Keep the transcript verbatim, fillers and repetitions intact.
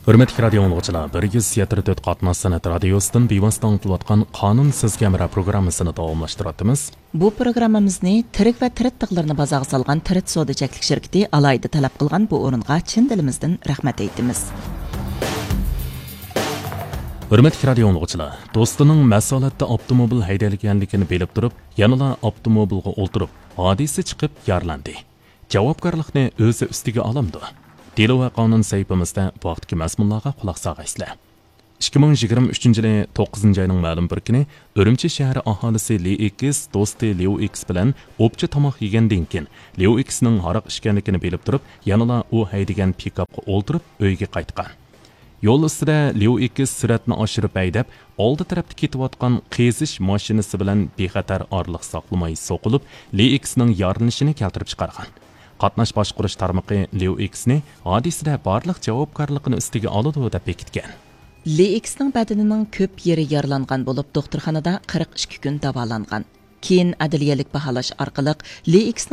ھۆرمەتلىك رادىيو ئاڭلىغۇچىلار، بىر يۈز يەتتە تۆت قاتناش سەنئەت رادىيوسىدىن بىۋاسىتە ئاڭلىتىلىۋاتقان قانۇن سىزگە ھەمراھ پروگراممىسىنى داۋاملاشتۇرۇۋاتىمىز. بۇ پروگراممىمىزنى تىرىك ۋە تىرىت تىغلىرىنى بازارغا سالغان تىرىت سودا چەكلىك شىركىتى ئالاھىدە تەلەپ قىلغان بۇ ئورۇنغا چىن دىلىمىزدىن رەھمەت ئېيتىمىز. ھۆرمەتلىك رادىيو ئاڭلىغۇچىلار، دوستىنىڭ مەست ھالەتتە ئاپتوموبىل ھەيدەيدىغانلىقىنى بىلىپ تۇرۇپ، يەنىلا ئاپتوموبىلغا ئولتۇرۇپ، ھادىسە چىقىپ يارىلاندى. جاۋابكارلىقنى ئۆزى ئۈستىگە ئالامدۇ؟ دېلو ۋە قانۇن سەھىپىمىزدە بۇ ھەقتىكى مەزمۇنلارغا قۇلاق سالغايسىلەر. ئىككى مىڭ يىگىرمە ئۈچىنچى يىلى توققۇزىنچى ئاينىڭ مەلۇم بىر كۈنى ئۈرۈمچى شەھىرى ئاھالىسى لى ئېكس دوستى ليۇ ئېكس بىلەن ئوپچە تاماق يېگەندىن كېيىن، ليۇ ئېكسنىڭ ھاراق ئىچكەنلىكىنى بىلىپ تۇرۇپ، يەنىلا ئۇ ھەيدىگەن پىكاپقا ئولتۇرۇپ ئۆيىگە قايتقان. يول ئۈستىدە ليۇ ئېكس سۈرئەتنى ئاشۇرۇپ ھەيدەپ، ئالدى تەرەپتە كېتىۋاتقان قېزىش ماشىنىسى بىلەن بىخەتەر ئارىلىق ساقلىماي سوقۇلۇپ، لى ئېكسنىڭ يارىلىنىشىنى كەلتۈرۈپ چىقارغان. قاتناش باشقۇرۇش تارمىقى ليۇ ئېكسنى ھادىسىدە بارلىق جاۋابكارلىقىنى ئۈستىگە ئالىدۇ دەپ بېكىتكەن. لى ئېكسنىڭ بەدىنىنىڭ كۆپ يېرى يارىلانغان بولۇپ، دوختۇرخانىدا قىرىق ئىككى كۈن داۋالانغان. كېيىن ئەدلىيەلىك باھالاش ئارقىلىق لى ئېكسنىڭ